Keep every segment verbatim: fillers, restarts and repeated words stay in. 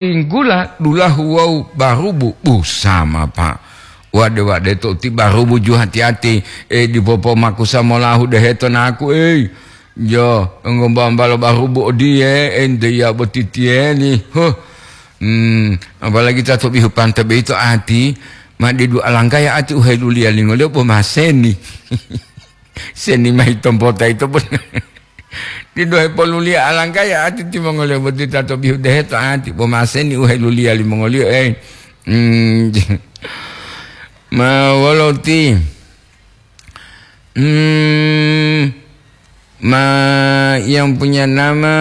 Tinggula dulahu wawu barubu, bu sama, Pak. Wade-wade to ti barubu ju hati-hati, eh, dipopomakusa molahu deheto naku, ei. Jo, ngombambalo barubu odiye, ente ya botitiyeni. Huh. Hmm, apalagi ta to bihu pante beito ati, ma didu alanggaya ati uheluliya lingoliyo bo maseni. Seni mayi tompota ito pun. Didu hepoluliya alanggaya ati timongoliyo boti ta to bihu deheto ati bo maseni uheluliya limongoliyo, eh. Hmm, ma wolo ti? Hmm, ma yang punya nama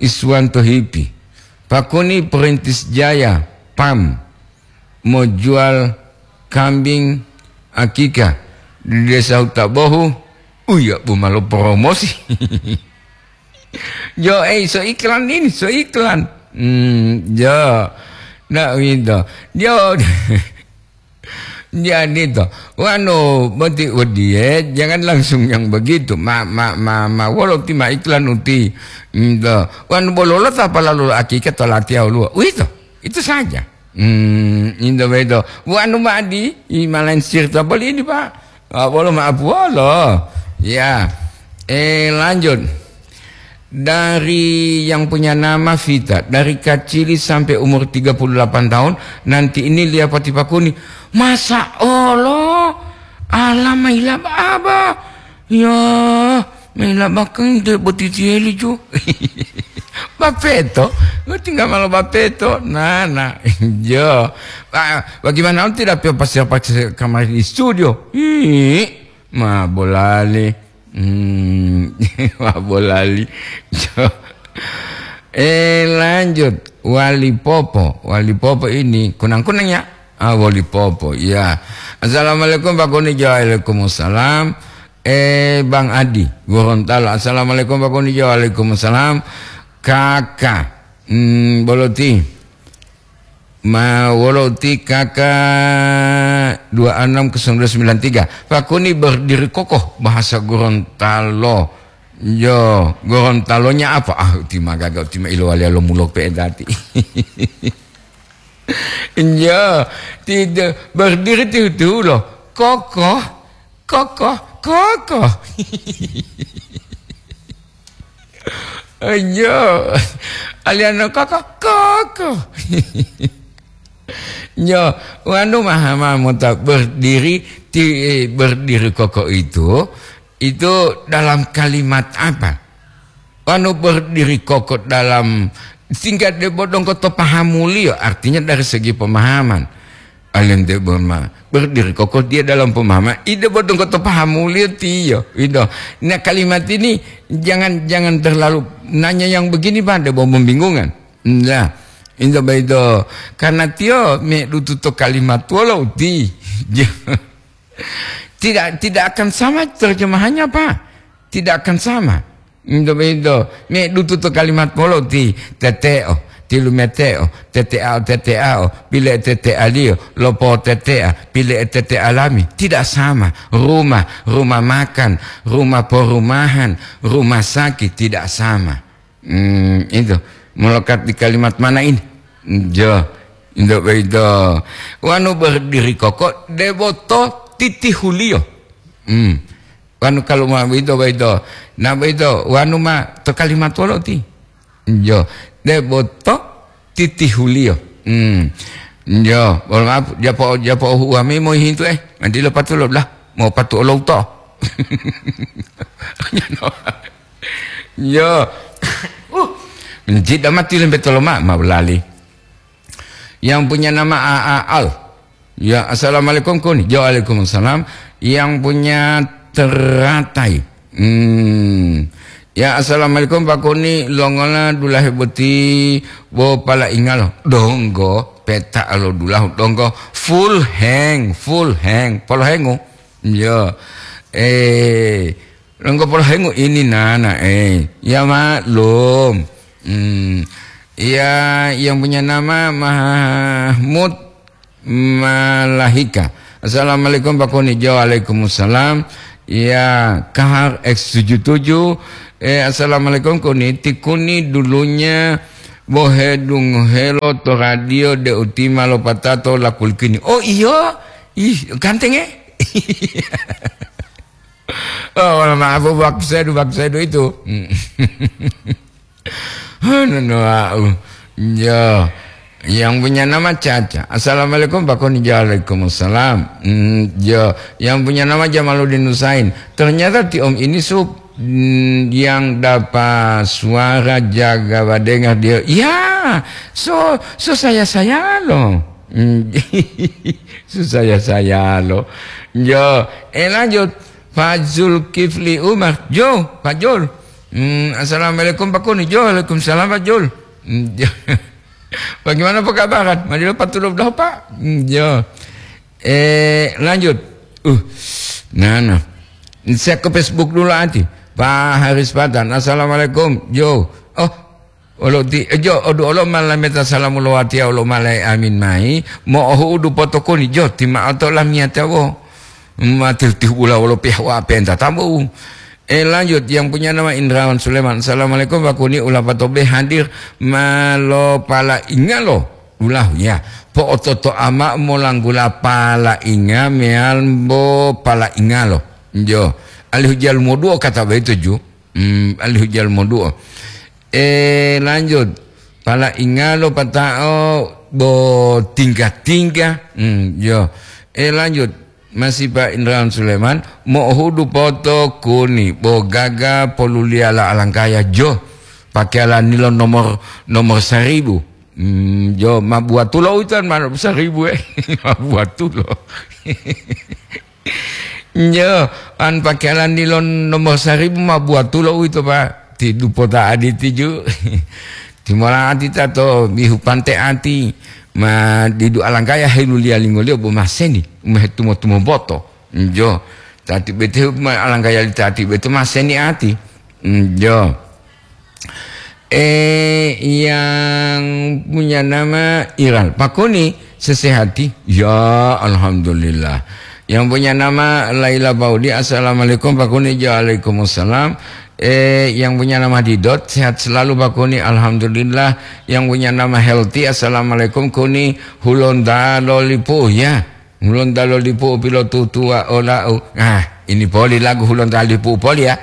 Iswanto Hipi. Pakuni Perintis Jaya, pam, mau jual kambing akikah di Desa Hutabohu. Uya, bu malo promosi. Jo, eh, so iklan ini, so iklan. Hmm, jo. Nah, gitu. Jo. Jadi to, wanu boti odiye, jangan langsung yang begitu. Ma, ma, ma, ma, wolo ti ma iklan uti. Ento, wanu bololo ta palalu akikah to latiya woluwo. Uwito, itu saja. Hmm, ento beto. Wanu ma'adi, i malansir ta boli ini, Pak. Ah, bolo maaf, wolo. Ya. Eh, lanjut. Dari yang punya nama Vita, dari kacili sampai umur tiga puluh delapan tahun, nanti ini lia pati pakuni. Masa olo? Ala mailab aba? Ya, mailab bakeng de botitieli ju. Bapeto, tinggal malo bapeto. Nah, nah, jo. Ah, bagaimana tidak pio pasir-pasir kamar di studio? Ih, ma bolali. Hmm, wah, bolali. Eh, lanjut. Wali Popo. Wali Popo ini kunang-kunang ya? Ah, Wali Popo. Ya. Assalamualaikum, Pak Kuni. Waalaikumsalam. Eh, Bang Adi, Gorontalo. Assalamualaikum, Pak Kuni. Waalaikumsalam. Kakak. Hmm, boloti. Ma wolo ti K K dua enam kosong dua sembilan tiga. Pakuni berdiri kokoh, bahasa Gorontalo. Yo, Gorontalonya apa? Ah, uti magaga, uti ma ilowaliya lo mulok pe'e dati. Yo, tidak berdiri tihu-tihu lo. Kokoh, kokoh, kokoh. Yo, aliano koko, koko. Yo, wanu maha-maha mota berdiri ti, eh, berdiri koko itu, itu dalam kalimat apa? Wanu berdiri koko dalam tingkat debo dongko to pahamuliyo, artinya dari segi pemahaman. Alente boma, berdiri kokoh dia dalam pemahaman. Ide bodong koto pahamuliyo tiyo. Ido. Nah, kalimat ini jangan, jangan terlalu nanya yang begini, Pak, debo membingungkan. Nah, indo baido. Karena tiyo me dutu to kalimat wolo uti. Tidak, tidak akan sama terjemahannya, Pak. Tidak akan sama. Ndo-, ndo, me dutu to kalimat polo ti tete'o, ti lumete'o, tete'ao, tete'ao, pile'e tete'aliyo, lopotete'a, pile'e tete'a lami. Tidak sama. Rumah, rumah makan, rumah perumahan, rumah sakit, tidak sama. Hmm, itu. Melekat di kalimat mana ini? Jo, indo baido. Wanu berdiri kokoh, debo to titihuliyo. Hmm. Wanu kalu ma boyito, boyito. Na boyito, wanu ma to kalimat wolo ti? Jo, debo to titihuliyo. Hmm. Jo, mohon maaf, japo, japo uhuwa me mohintu, eh. Nanti lo patulo lah, mau patu olou to. Jo. Uh, menjida mati lembe toloma, ma belali. Yang punya nama A A Al. Ya, assalamualaikum, Kuni. Ya, waalaikumsalam. Yang punya teratai. Hmm. Ya, assalamualaikum, Pak Kuni. Longola dulahe boti bo pala ingalo. Donggo, peta alo dulahu. Donggo, full hang, full hang. Polo hengu. Ya. Eh, Longgo polohengu ini, Nana, eh. Ya, maklum. Hmm. Ya, yang punya nama Mahmud Malahika. Assalamualaikum, Pak Kuni. Jo, waalaikumsalam. Ya, Kahar X tujuh tujuh. Eh, assalamualaikum, Kuni. Ti Kuni dulunya Bo hedungohelo to radio deu ti ma lopatato lakulikini. Oh, iyo? Ih, ganteng, eh? Oh, mohon maaf, waktu saya, waktu saya itu. Hmm. Anu, no, au. Ya. Yang punya nama Caca. "Assalamualaikum, Pak Koni." "Waalaikumsalam." Hmm, ya. Yang punya nama Jamaluddin Husain. "Ternyata Ti Om ini sup, hmm, yang dapat suara jaga badengar dia." Ya, so, so saya-saya loh. Hmm, so saya-saya loh. Ya, eh, lanjut. Pak Zulkifli Umar. "Jo, Pak Jul." Hmm, "Assalamualaikum, Pak Koni." "Jo, waalaikumsalam, Pak Jul." Hmm, jo. "Bagaimana pekabaran? Madilo patulo dah, Pak?" Hmm, jo. Eh, lanjut. Uh, nah, nah. Saya ke Facebook dulu, anti. Pak Haris Patan. "Assalamualaikum." Jo. Oh, Olo ti, jo, odu olo ma lameta salamu lo watiya olo ma lai amin mai, mo'ohu'udu potokoni, jo, ti ma'o to lamiyatiya wo. Matil-tihula wolo pihawa penta tabu. Eh, lanjut, yang punya nama Indrawan Suleman. "Assalamualaikum, Pak Koni, ulapato be hadir ma lo pala ingalo. Ulahu ya. Po'ototo ama molanggula pala inga meal bo pala ingalo." Jo. Alihu jalu moduo kata begitu, ju. Hmm, alihu jalu moduo. Eh, lanjut. Pala ingalo pata'o bo tingga-tingga. Hmm, yo. Eh, lanjut. Masih Pak Indrawan Suleman, mo'ohudu poto kuni, bo gaga poluliyala alangkaya jo. Pakeyala nilo nomor, nomor saribu. Hmm, jo, ma buatulo utan ma saribu, eh. Ma buatulo. Njo, an pakelan dilo nomor saribu ma buatulo uwito, Pak. Ti dupota aditi ju. Timola ati tato bihu pante ati. Ma didu alangkaya heluliya lingoliyo bo maseni. Umehe tumo-tumo boto. Njo. Tati bete ma alangkaya li tati bete maseni ati. Njo. Eh, yang punya nama Iral. Pak Koni, sesehati? Ya, alhamdulillah. Yang punya nama Laila Paudi, "Assalamualaikum, Pak Koni." "Waalaikumsalam." Eh, yang punya nama Didot, "Sehat selalu, Pak Koni." "Alhamdulillah." Yang punya nama Healthy, "Assalamualaikum, Koni. Hulonda lolipu, ya. Hulonda lolipu pilotutuwa olau." Nah, ini poli lagu Hulonda lolipu poli, ya.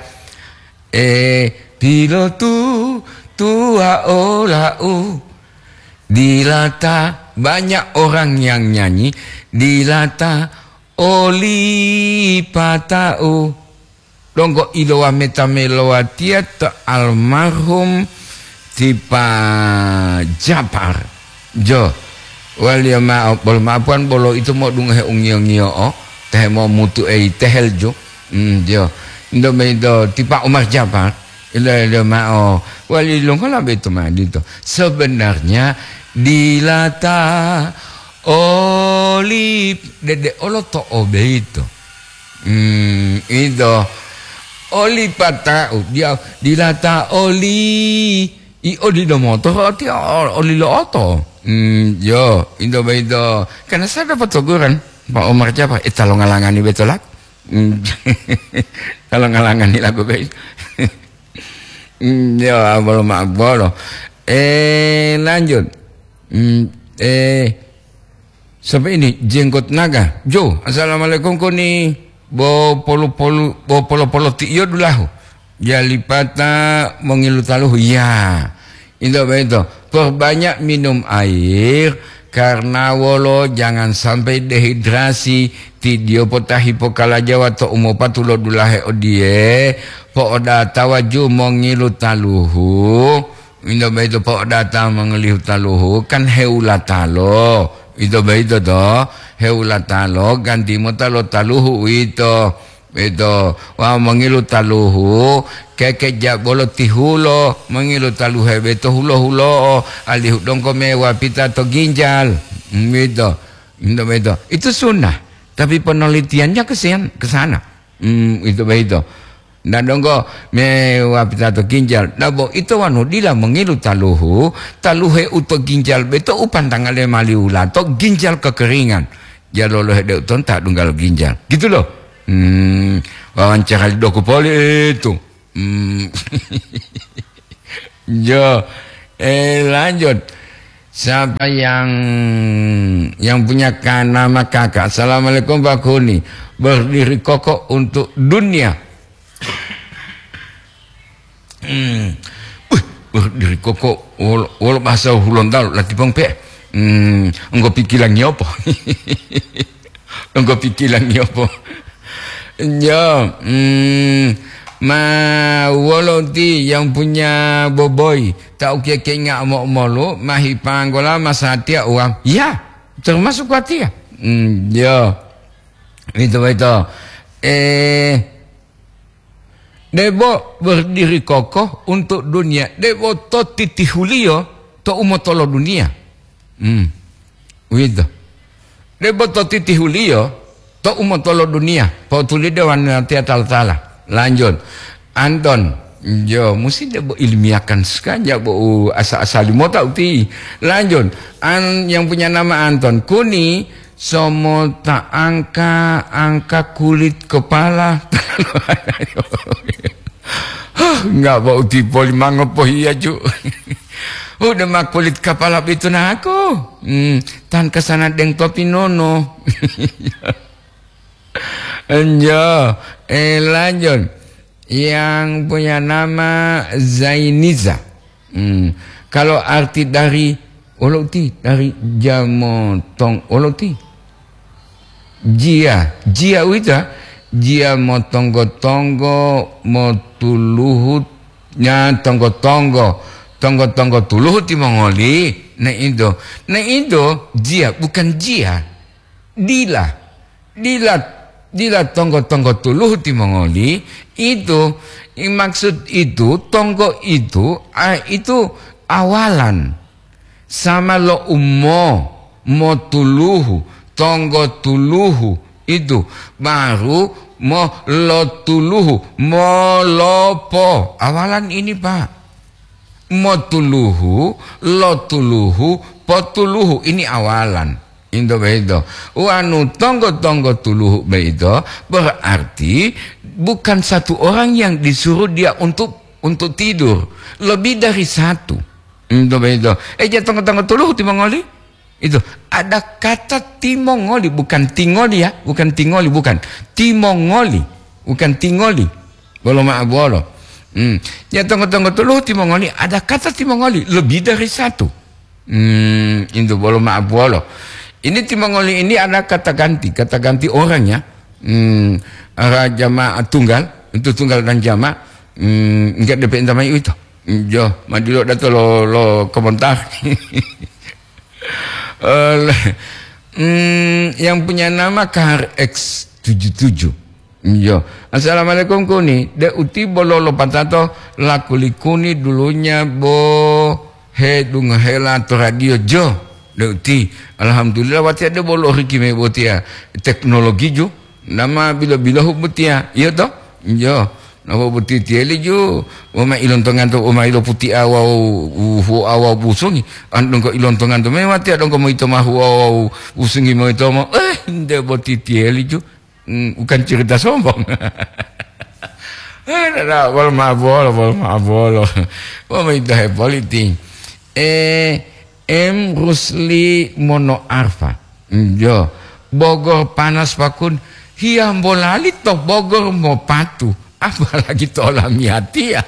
Eh, pilotutuwa olau, dilata banyak orang yang nyanyi, dilata oli pata'u. Donggo ilowa meta melowatiya to almarhum Tipa Japar. Jo, waliyo ma'o, bolo ma'apuwan bolo ito mo'odungohe ungiyo-ngiyo'o, tehe momutu eyi tehel jo. Mm, jo. Indo maito Tipa Umar Japar, ilo-ilo ma'o, wali longola beito ma dito. Sebenarnya dilata oli dede olo to obeito. Hmm, ito. Oli pata'u, dia dilata oli. I odilo moto, roti o-, olilo oto. Hmm, yo, ito boyito. Karena saya dapat teguran, Pak Omar Jafar, "Eh, ta longalangani beto laku." Hmm, ta longalangani laku boyito. Hmm, yo, abolo ma abolo. Eh, lanjut. Hmm, eh, Sampai ini, Jenggot Naga. Jo, "Assalamualaikum, Koni." Bo polu-polu, bo polo-polo ti iyo dulahu. Jalipata mongilu taluhu. Ya. Ito boyito. Perbanyak minum air, karena wolo jangan sampai dehidrasi. Ti diyo potahi pokalajawa to umopatu lo dulahe odiye, po'odatawa ju mongilu taluhu. Ito boyito po'odata mongolihu taluhu, kan heulatalo. Ito boyito to, heulatalo ganti mota lo taluhu uwito. Ito, wawu mongilu taluhu, keke ja bolo tihulo, mongilu taluhe beto hulo-hulo'o, alihu donggo mewapita to ginjal. Hmm, ito. Ito boyito. Itu sunnah. Tapi penelitiannya ke sian-, ke sana. Hmm, ito boyito. Nda donggo mewapita to ginjal. Nda bo ito wanu dila mongilu taluhu, taluhe u to ginjal beto u pantangale mali ulato ginjal kekeringan. Jalolo hede uton ta dunggal ginjal. Gitu loh. Hmm, wawancara li doku poli itu. Hmm. Jo. Eh, lanjut. Siapa yang yang punya ka-, nama kakak? Assalamualaikum Pak Kuni. Berdiri kokoh untuk dunia. Hmm. Wih, berdiri kokoh wolo, wolo bahasa Hulontalo lati pong pe. Hmm, engko pikilangi apa? Engko pikilangi apa? Ya, hmm, ma wolo ti yang punya boboi, tak ukia kenga mo molu, mahi panggola masatia uang. Ya, termasuk kuatia. Hmm, ya. Itu, itu. Eh, Debo berdiri kokoh untuk dunia, debo to titihuliyo to umotolo dunia. Hmm. Uwito. Debo to titihuliyo to umotolo dunia. Potulide wanatiya tala-tala. Lanjut. Anton. Jo, musi debo ilmiahkan sekali, bo u asa-asali mota uti. Lanjut. An, yang punya nama Anton. Kuni, Somota angka-angka kulit kepala. Huh, nggak bau tipoli mangopohiya, Ju. Udah mah kulit kepala itu naku. Hmm, tan kesana deng topi nono. Enjo, eh, lanjut. Yang punya nama Zainiza. Hmm. Kalau arti dari olo uti, dari jamotong olo uti. Jia, jia uwito, jia motonggo-tonggo, motuluhu, nya tonggo-tonggo, tonggo-tonggo tuluhu timongoli, ne indo. Ne indo, jia, bukan jia. Dila. Dila, dila tonggo-tonggo tuluhu timongoli, itu, i maksud itu, tonggo itu, a, itu awalan. Sama lo umo, mo tuluhu, tonggo tuluhu, itu, baru mo lo tuluhu, mo lopo. Awalan ini, Pak. Mo tuluhu, lo tuluhu, po tuluhu. Ini awalan. Into begitu. Wanu tonggo-tonggo tuluhu begitu, berarti bukan satu orang yang disuruh dia untuk, untuk tidur. Lebih dari satu. Into begitu. Eh, ja tonggo-tonggo tuluhu timongoli. Itu. Ada kata timongoli, bukan tingoli ya. Bukan tingoli, bukan. Timongoli. Bukan tingoli. Bolo ma'abuwolo. Hmm. Ya tonggo-tonggo tuluhu timongoli, ada kata timongoli. Lebih dari satu. Hmm, intu bolo ma'abuwolo. Ini timongoli ini ada kata ganti, kata ganti orang ya. Hmm, ara jamaah tunggal, untuk tunggal dan jamaah. Hmm, enggak D P N tamai itu. Hmm, jo, madilo dato lo, lo komentar. Eh, hmm, yang punya nama K R X tujuh tujuh. Iya. Assalamualaikum Kuni. De uti bolo lopatato lakuli Kuni dulunya bo hedungohela to radio jo. De uti. Alhamdulillah watiya de bolo riki me botiya teknologi ju. Nama bilo-bilohu botiya. Iya to? Iya. Napa boti tiyeli ju? Woma ilontongan to, woma ilo puti'a wawu hu'a wawu busungi. An dongko ilontongan to me watiya dongko moyito ma hu'a wawu busungi moyito mo. Eh, nde boti tiyeli ju. Hmm, bukan cerita sombong. Eh, dada, bolo ma'abolo, bolo ma'abolo. Wah, maita hepoliti. Eh, M Rusli Mono Arfa. Jo, Bogor panas pakun. Hiyambolali to Bogor mopatu. Apalagi to olamiyatiya.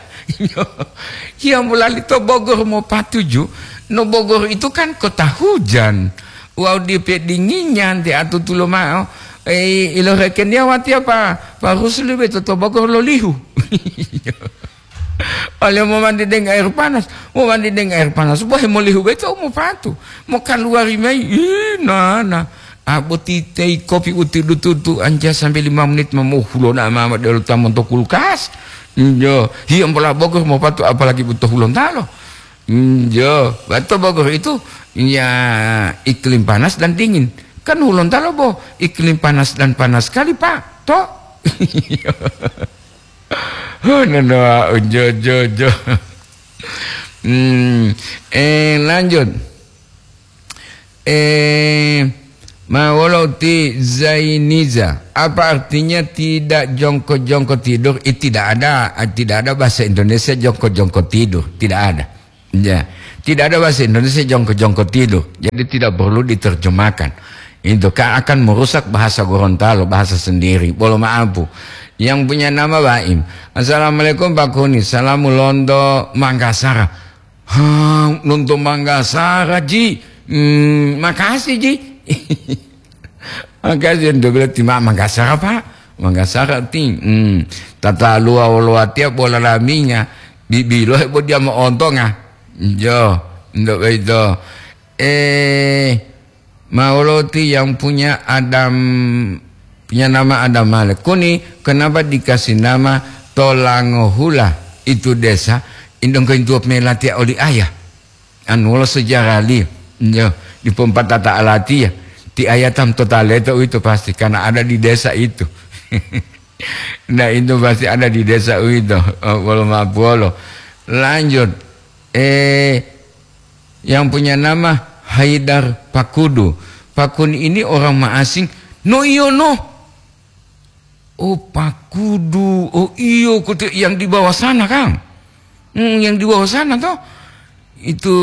Hiyambolali to Bogor mopatu ju. No Bogor itu kan kota hujan. Wawu dipe dinginya nte atutulo ma'o. Eh, iloreken dia watiya pa, pa Rusli beto to Bogor lolihu. Oleh momandi deng air panas, momandi deng air panas, bohe molihu beto mopatu. Mokaluwari mayi, ih, nana. Aboti tei kopi uti dututu anja sampai lima menit ma mohulona mama delo tamon to kulkas. Njo, hiyambola Bogor mopatu apalagi buto hulontalo. Hmm, jo, bato Bogor itu ya iklim panas dan dingin. Kan Hulontalo bo iklim panas dan panas sekali, Pak. To? Oh, no, no, jo, jo, jo. Hmm, eh, lanjut. Eh, ma wolo ti Zainiza. Apa artinya tidak jongko-jongko tidur? Eh, tidak ada, tidak ada bahasa Indonesia jongko-jongko tidur. Tidak ada. Ya, tidak ada bahasa Indonesia jongko-jongko tidur. Jadi tidak perlu diterjemahkan. Itu kan akan merusak bahasa Gorontalo, bahasa sendiri. Bolo maapu. Yang punya nama Baim. "Assalamualaikum Pak Kuni. Salamu lonto Manggasara." "Ha, lonto Manggasara, Ji. Hmm, makasih, Ji." Makasih, untuk berarti ma-, Manggasara, Pak. Manggasara, ti. Hmm. Tata lua wolo watia bola laminga. Bibilo hebo dia moontonga. Jo, untuk itu. Eh, Mauloti yang punya Adam, punya nama Adam Malik. "Kuni, kenapa dikasih nama Tolangohula itu desa? Indong kointuop melatia oli ayah." Anu wolo sejarah li, yo, dipompatata alatiya. Ti ayah tam tota leto uwito pasti, karena ada di desa itu. Nah, itu pasti ada di desa uwito. Oh, wolo mapuolo. Lanjut. Eh, yang punya nama Haidar Pakudu. Pakun ini orang Maasing. No, iyo, no. Oh, Pakudu. Oh, iyo, kote yang di bawah sana, Kang. Hmm, yang di bawah sana, toh. Itu,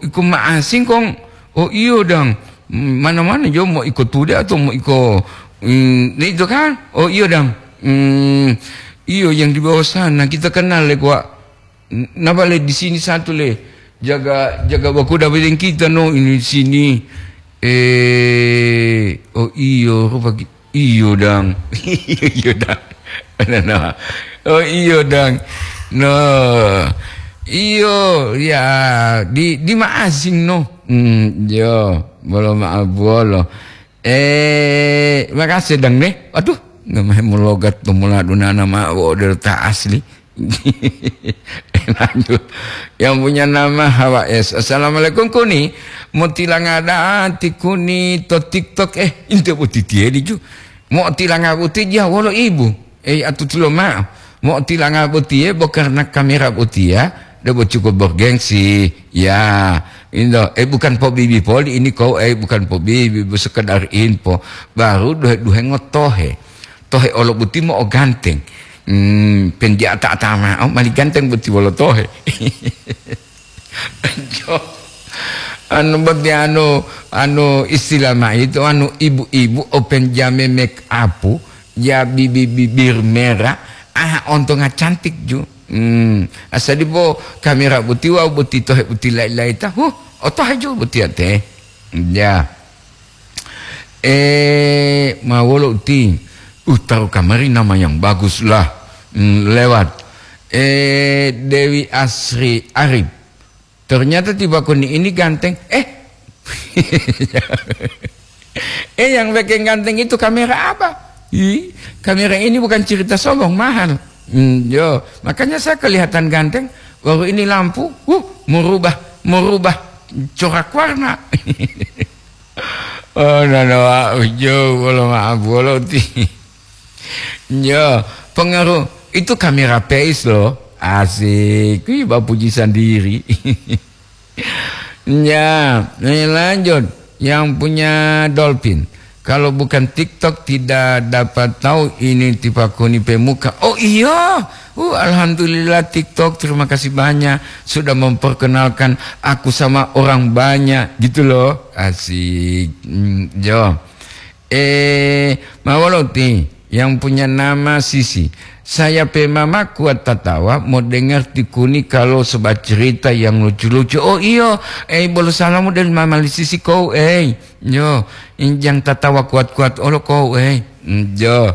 iku Maasing, Kong. Oh, iyo, dang. Hmm, mana-mana, jo, mau iko tude atau mau iko, hmm, itu, kan? Oh, iyo, dang. Hmm, iyo, yang di bawah sana. Kita kenal, le, Wak. N-, napa le di sini satu le? Jaga, jaga bakuda bedeng kita no ini di sini. Eh, oh iyo, rupa ki-, iyo dang. Iyo, iyo dang. Nah, nah. Oh iyo dang. No. Iyo, ya, di, di Maasing no. Hmm, yo, bolo maaf bolo. Eh, makasih dang ne. Aduh, namahe mulogat pemula dunana ma wo derta asli. Lanjut. Yang punya nama Hawa S. "Assalamualaikum Kuni. Mau tilanga da'a ti Kuni to TikTok, eh, inte boti tiye diju. Mau tilanga boti dia wolo ibu. Eh, atutulo ma'o. Mau tilanga botiye bo karena kamera botiya, debo cukup bergengsi." Ya, indo, eh, bukan pobibi poli ini kau, eh, bukan pobibi, bu sekedar info. Baru duhe-duhe ngotohe. Tohe olo boti mo'oganteng. Hmm, pendiata-ata ma'o, mali ganteng boti wolo tohe. Jo. Anu boti anu, anu istilah ma itu, anu ibu-ibu o penjame make up, ya bibi-, bibir merah, ah, ontonga cantik ju. Hmm, asali bo kamera boti wau boti tohe boti lai-lai ta, huh, otohe ju boti ate. Ya. Eh, ma wolo uti? Uh, taruh kamari nama yang bagus lah. Hmm, lewat. Eh, Dewi Asri Arif. Ternyata tiba kuni ini ganteng. Eh. Eh, yang bikin ganteng itu kamera apa? Ih, kamera ini bukan cerita sombong, mahal. Hmm, yo, makanya saya kelihatan ganteng. Baru ini lampu, uh, merubah, merubah corak warna. Oh, nana, Pak, ujo, wolo maaf, wolo ti. Yo, pengaruh itu kamera face loh. Asik, wih, bapuji sendiri. Ya, eh, lanjut. Yang punya dolphin. Kalau bukan TikTok tidak dapat tahu ini tipakuni pemuka. Oh iya, uh, alhamdulillah TikTok, terima kasih banyak sudah memperkenalkan aku sama orang banyak gitu loh. Asik. Hmm, yo. Eh, mawaloti yang punya nama Sisi. Saya pe mama kuat tatawa mau dengar tikuni kalau sebab cerita yang lucu-lucu. Oh iyo, eh, bolo salamu dari mama li Sisi kou, eh. Yo, injang tatawa kuat-kuat olo kou, eh. Mm, yo.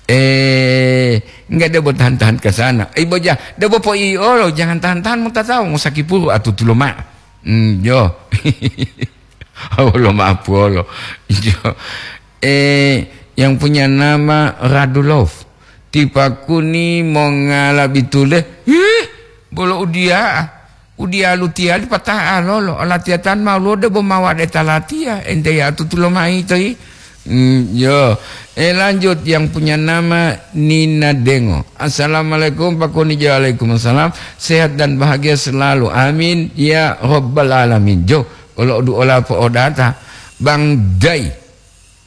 Eh, enggak, debo tahan-tahan ke sana. Eh, boja, debo po i olo, jangan tahan-tahan mau tatawa, mau sakit puru atutulo ma. Mm, yo. Awolo mapuolo. Jo. Eh, yang punya nama Radulov. Tipakuni mongala bitule. Ih, bolo udia. Udia lutia di patah alolo. Latiatan mau lode bo mawade talatia. Ente ya tutulo mai toi. Hmm, yo. Eh, lanjut yang punya nama Nina Dengo. Assalamualaikum Pak Kuni. Waalaikumsalam. Sehat dan bahagia selalu. Amin ya robbal alamin. Jo. Olo duola po'odata, Bang Dai.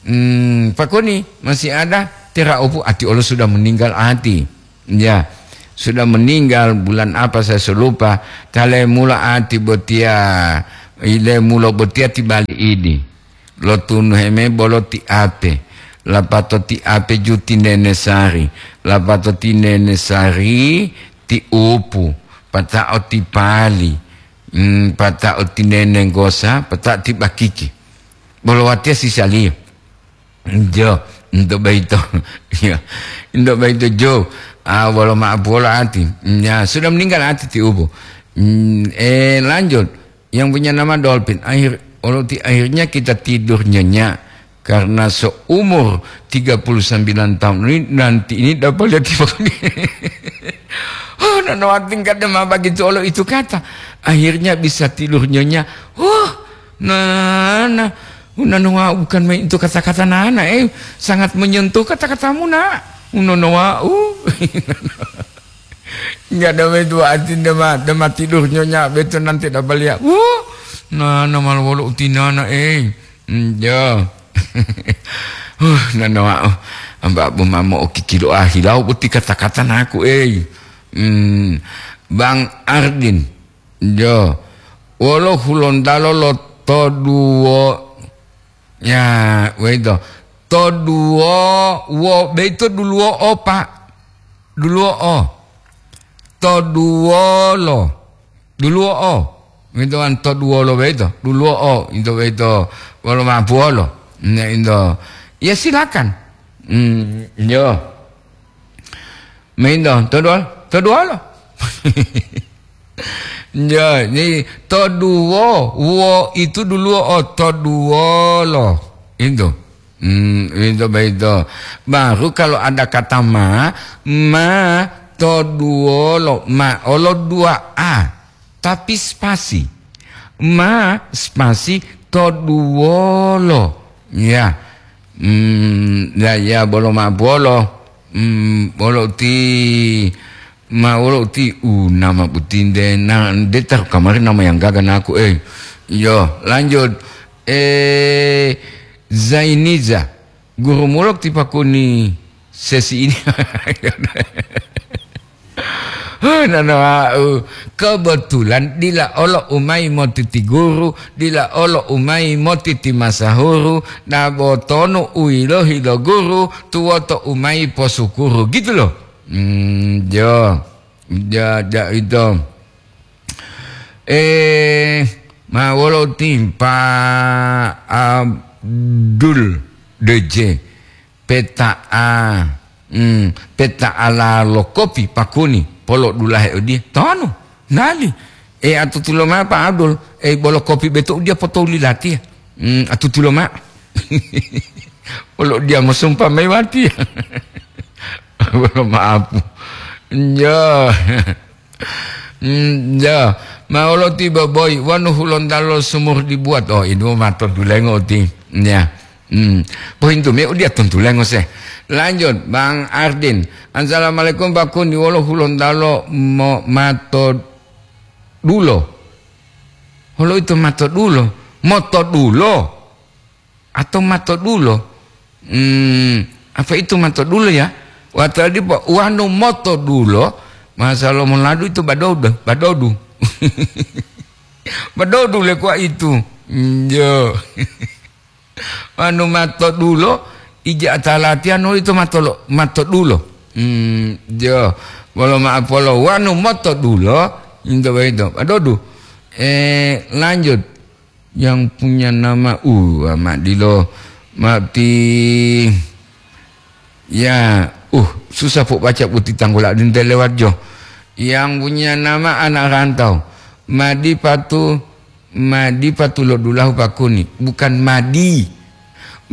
Hmm, Pak Kuni, masih ada? Tera opu ati olo sudah meninggal ati. Ya. Sudah meninggal bulan apa saya so lupa, ta le mula ati botiya, ile mulo botiya ti bali idi. Lo tunu heme bolo ti ape, lapato ti ape ju ti nene sari, lapato ti nene sari ti upu, pata'o ti pali, mm, pata'o ti nene gosa, pata'o ti bakiki. Bolo watiya sisaliyo. Jo, untuk baito. Ya, untuk baito jo. Ah, wolo maaf wolo ati. Ya, sudah meninggal ati ti upu. Hmm, eh, lanjut. Yang punya nama Dolphin. Akhir, wolo ti akhirnya kita tidur nyenyak karena seumur tiga puluh sembilan tahun ini nanti ini dapat lihat. Oh, nono ati kada ma begitu olo itu kata. Akhirnya bisa tidur nyenyak. Wah, nah, nah. Unono wau bukan main itu kata-kata nana, eh, sangat menyentuh kata-katamu, nak. Unono wau. Enggak ada itu arti dema, dema tidur nyenyak betul nanti dapat lihat. Wuh, nana malu wolo utinana, eh. Hmm, ya. Huh, nana wau. Amba bu mamo okikilo ahilau boti kata-kata naku, eh. Hmm, Bang Ardin. Jo, wolo Hulontalo lo toduwo, ya, weito. Toduwo, wo, beito duluwo o, Pak. Duluwo o. Toduwolo. Duluwo o. Weito kan toduwolo beito. Duluwo o. Into beito. Wolo mapuwolo. Ne into. Ya silakan. Hmm, yo. Maindo, toduwolo, toduwolo. Jadi, toduwo, wo itu duluwo o toduwolo. Itu. Hmm, itu begitu. Baru kalau ada kata ma, ma toduwolo, ma olo dua a. Tapi spasi. Ma spasi toduwolo. Ya. Hmm, ya, ya, bolo ma bolo. Hmm, bolo ti, ma bolo ti, u, nama butinde, na, de taru kamari nama yang gaga naku, eh. Yo, lanjut. Eh, Zainiza, guru mulok ti pakuni sesi ini. Huh, nana wau. Kebetulan dila olo umai motiti guru, dila olo umai motiti masahuru, dabo tonu uilohi lo guru, tuwoto umai posukuru. Gitu loh. Hmm, jo. Ja, ja, itu. Eh, ma wolo timpa Abdul D J. Peta'a, hmm, peta'ala lo kopi pakuni, polo dulahe odiye, tonu, nali. E, atutulo mao, Pak Abdul, e, bolo kopi beto udiya potoli latiya. Hmm, atutulo mao. Polo diya mosumpa mayi watiya. Bolo maaf. Njo. Hmm, ya, ma olo ti boboi, wanu Hulontalo sumur dibuat. Oh, ini mato dulengo ti. Ya. Hmm. Pohintu me udia tuntulengo se. Lanjut, Bang Ardin. Assalamualaikum, Pak Kuni. Wolo Hulontalo mo mato dulo. Holo itu mato dulo. Moto dulo. Atau mato dulo. Hmm, apa itu mato dulo ya? Watadi po wanu moto dulo, masalo monadu itu badodo, badodu. Badodu le kuwa itu. Hmm, jo. Wanu mato dulo, ija atalatiano itu mato lo, mato dulo. Hmm, jo. Bolo maaf, bolo wanu moto dulo, into begitu. Badodu. Eh, lanjut. Yang punya nama, uh, ma dilo, ma ti, ya, uh, susah po baca putih tanggula dinte lewat jo. Yang punya nama anak rantau. Madi patu, madi patu lo dulahu pakuni. Bukan madi.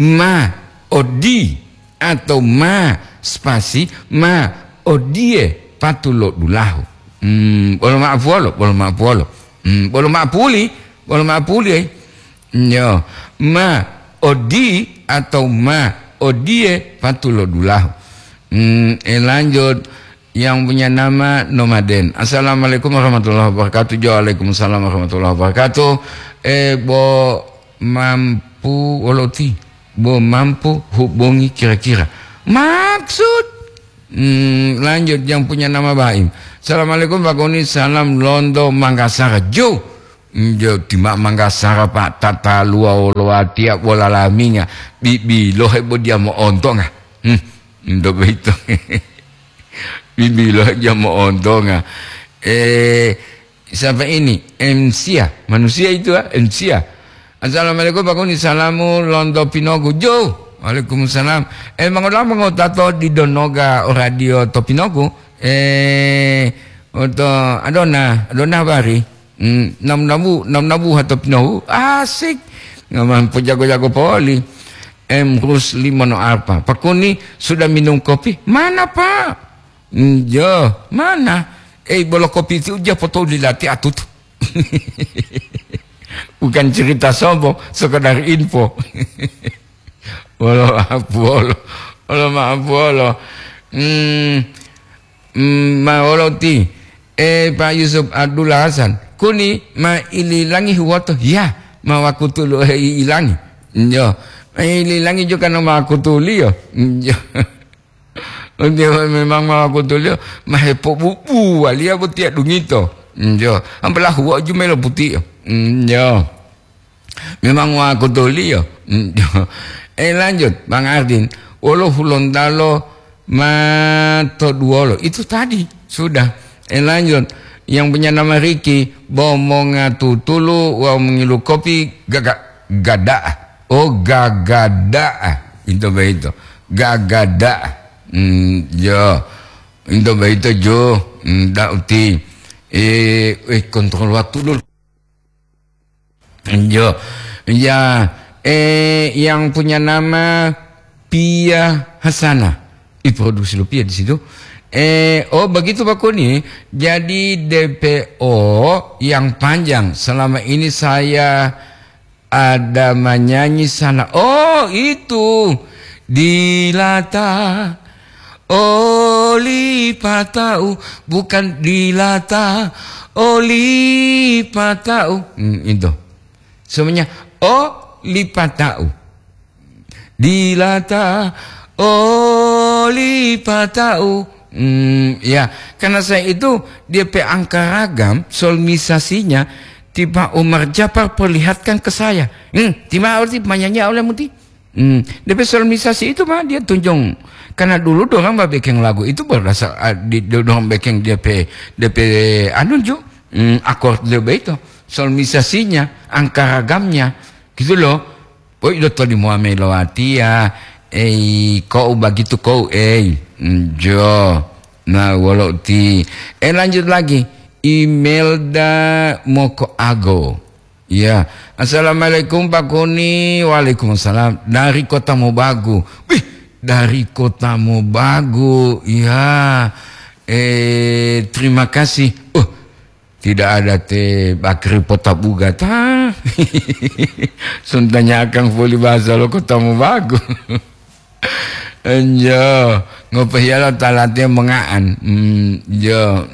Ma, odi. Atau ma spasi ma odie patulo dulahu. Hmm, bolo ma'apuwolo, bolo ma'apuwolo. Hmm, bolo ma'apuli, bolo ma'apuli, eh. Nyo, ma odi atau ma odie patulo dulahu. Hmm, eh, lanjut. Yang punya nama Nomaden. Assalamualaikum warahmatullahi wabarakatuh. Waalaikumsalam warahmatullahi wabarakatuh. Eh, bo mampu woloti. Bo mampu hubungi kira-kira. Maksud Hmm, lanjut, yang punya nama Baim. Assalamualaikum Pak Kuni, salam londo Manggasara. Jo, jo, tima Manggasara Pak, tataluwa wolo watiya bola laminga. Bibilo hebo dia mo'ontonga. Hmm, ndo beito. Bibilo dia mo'ontonga. Eh, Siapa ini? Ensia. Manusia itu, ah, Ensia. Assalamualaikum, Pak Kuni. Salamu lonto Pinogu. Jo. Waalaikumsalam. Eh, mangolama ngotato di donoga o radio to Pinogu. Eh, oto adona, adona bari. Hmm, nam nabu, nam nabu hato Pinogu. Asik. Ngaman pojago-jago poli. Em, Rus lima no apa? Pak Kuni sudah minum kopi? Mana, Pak? Njo, mana? Eh, bolo kopi itu uja foto dilati atutu. Bukan cerita sombong, sekedar info. Wolo maaf, wolo. Wolo maaf, wolo. Hmm, hmm, ma wolo ti. Eh, Pak Yusuf Abdullah Hasan. Kuni ma ililangi huwoto. Ya, ma wakutulu, eh, ilangi. Njo. Ma ililangi juga no ma wakutuli yo. Njo. Njo, memang ma wakutuli yo. Ma hepobubu waliya botiya dungito. Njo. Ampela huwo jumelo putiyo. Njo. Memang wakutuli yo. Eh, lanjut, Bang Ardin. Wolo Hulontalo ma to duwolo. Itu tadi, sudah. Eh, lanjut. Yang punya nama Riki, bo monga tutulu wawu mongilu kopi gaga-, gada'a. Oh, gagada'a. Itu begitu. Gagada'a. Hmm, yo. Itu begitu, Jo. Hmm, da uti. Eh, eh, kontrol waktu dulu. Yo, ya, eh, yang punya nama Pia Hasanah. Ih, produksi lo Pia di situ. Eh, oh, begitu, Pak Kuni. Jadi D P O yang panjang. Selama ini saya ada menyanyi sana. Oh, itu. Dilata. Oli patau, bukan dilata, oli patau. Hmm, itu. Semuanya, oli patau. Dilata, oli patau. Hmm, ya, karena saya itu dia pe angka ragam, solmisasinya, tiba Umar Japar perlihatkan ke saya. Hmm, tiba arti penyanyi oleh Muti. Hmm, D P solmisasi itu mah dia tunjung. Karena dulu dorang ba bekeng lagu itu berdasar, ah, di, do-, dorang bekeng D P, D P anu jo. Hmm, akord D P itu. Solmisasinya, angka ragamnya. Gitu loh. Poi do toli muame lo atia. Ei, kau begitu kau, ei. Hmm, jo. Nah, wolo ti. Eh, lanjut lagi. Imelda Moko Ago. Iya. Assalamualaikum, Pak Kuni. Waalaikumsalam. Dari Kota Mobagu. Wih, dari Kota Mobagu. Iya. Eh, terima kasih. Uh, tidak ada te bakri pota buga ta. Suntanya akang poli bahasa lo Kota Mobagu. Enjo, ngopehiya lo talate menga'an. Hmm, jo.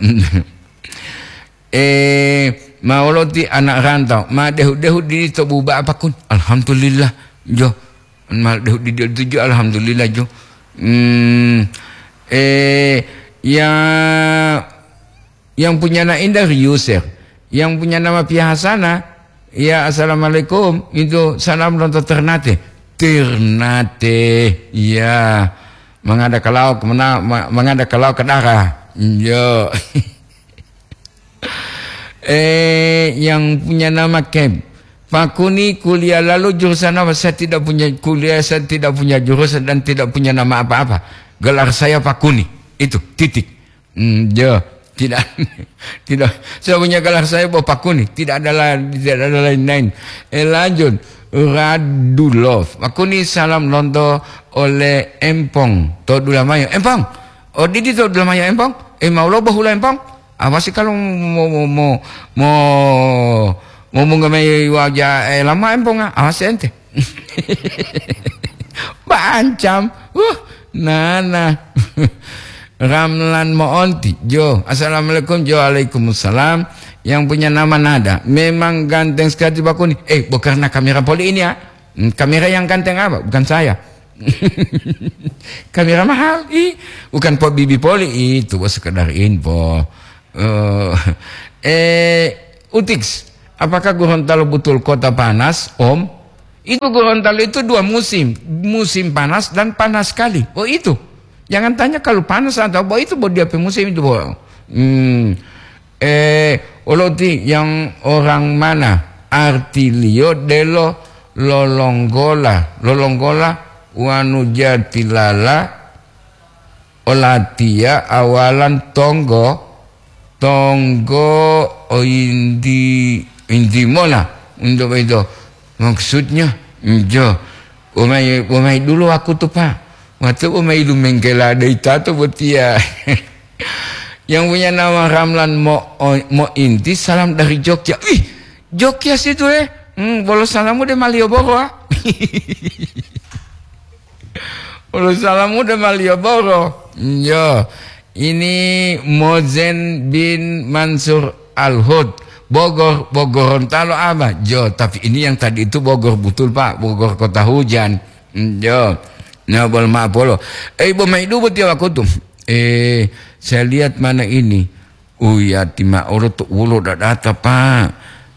Eh, ma woloti anak rantau, ma dehu-dehu didi to buba'a pakun. Alhamdulillah, jo. Ma dehu didi tuju, alhamdulillah, jo. Hmm, eh, ya, yang punya anak indah, Yusir. Yang punya nama Pia Hasanah, ya, assalamualaikum. Itu salam lonto Ternate. Ternate, ya. Mangada kalau kemana, ma-, mangada kalau ke darah. Yo. Eh, yang punya nama Keb. Pak Kuni kuliah lalu jurusan apa? Saya tidak punya kuliah, saya tidak punya jurusan dan tidak punya nama apa-apa. Gelar saya Pak Kuni. Itu, titik. Hmm, ya, tidak, tidak. Saya punya gelar saya Pak Kuni. Tidak ada la-, tidak ada lain-lain. Eh, lanjut. Radulov. Pak Kuni salam lonto oleh Empong. To Dulamayo. Empong. Oh, didi to Dulamayo Empong. Eh, mau lo bohula Empong. Apa sih kalau mau, mau, mau, mau, mau menggemai wajah, eh, lama Empong, ah? Apa sih ente? Bancam. Uh, nana. Ramlan Moonti, Jo. Assalamualaikum, Jo. Waalaikumsalam. Yang punya nama Nada. Memang ganteng sekali Pak Kuni. Eh, bukan karena kamera poli ini, ya. Hmm, kamera yang ganteng apa? Bukan saya. Kamera mahal, ih, bukan po bibi poli itu, bos, sekedar info. Eh, eh, Utix, apakah Gorontalo betul kota panas, Om? Itu Gorontalo itu dua musim, musim panas dan panas sekali. Oh, itu. Jangan tanya kalau panas atau apa, itu bo dia pe musim itu, bo. Hmm. Eh, oloti yang orang mana? Artilio delo lolonggola, lolonggola wanu jatilala olatiya awalan tonggo, tonggo o indi-, indimola, indo boyito. Maksudnya, injo, umai, umai dulu aku tuh, Pak. Waktu umai lumengkela ada itato botiya. Yang punya nama Ramlan Mo, Mo Inti, salam dari Jogja. Wih, Jogja situ, eh. Hmm, bolo salamu de Malioboro, ah. Bolo salamu de Malioboro. Yo, ini Mozen bin Mansur Al-Hud. Bogor, Bogorontalo apa? Jo, tapi ini yang tadi itu Bogor betul, Pak. Bogor kota hujan. Yo. Nah, bol maaf polo. Eh, Ibu Maidu betul aku tuh. Eh, saya lihat mana ini. Uya, tima'olo to wolo dadata, Pak.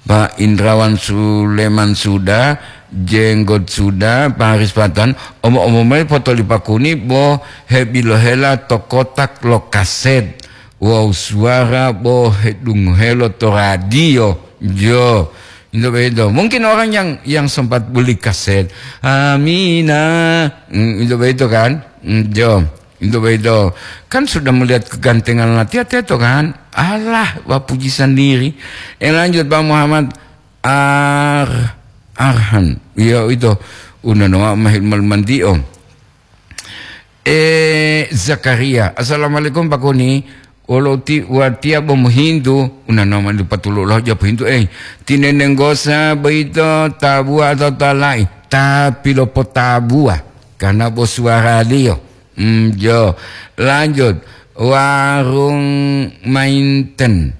Pak Indrawan Suleman sudah, Jenggot sudah, Pak Haris Patan, omo-omo mayi foto li Pakuni bo hebilohela to kotak lo kaset. Wawu suwara bo hedungohelo to radio. Jo, itu begitu. Mungkin orang yang, yang sempat beli kaset, Amina, mm, itu begitu kan? Mm, jo. Itu begitu. Kan sudah melihat kegantengan latihan teto kan? Alah, bapuji sendiri. Eh, lanjut, Pak Muhammad Ar-, Arhan. Iya, itu. Udah nama mahil malmanti, Om. Eh, Zakaria. Assalamualaikum, Pak Koni. Wolo ti-, watiya bo mohintu. Una nama dipatulo lah ja pohintu, eh. Tinenenggosa boyito tabuwa atau tala'i? Tapi lopotabuwa. Karena bo suwaraliyo. Hmm, jo. Lanjut. Warung Mainten.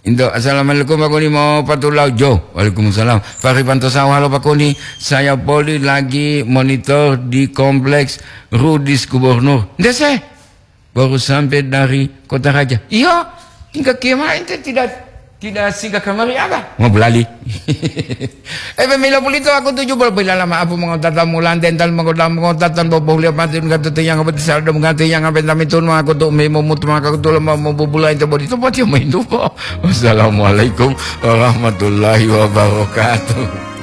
Indo, assalamualaikum, Pak Koni, mau patulau, jo. Waalaikumsalam. Fahri Pantosawa, halo, Pak Koni. Saya Poli lagi monitor di kompleks Rudis Gubernur. Ndese, baru sampai dari Kota Raja. Iya, tinggal kiamah ente tidak, tidak singgah kamari apa? Mau belali. Eh, pemila pulito aku tuju bol pila lama apu mengotata mulan dental mengotata mengotata bobo liya mati enggak tutu yang apa tisal dong mengati yang apa tami tun aku tu memo mut maka aku tu lama mau bubula itu bodi tu pati main tu po. Wassalamualaikum warahmatullahi wabarakatuh.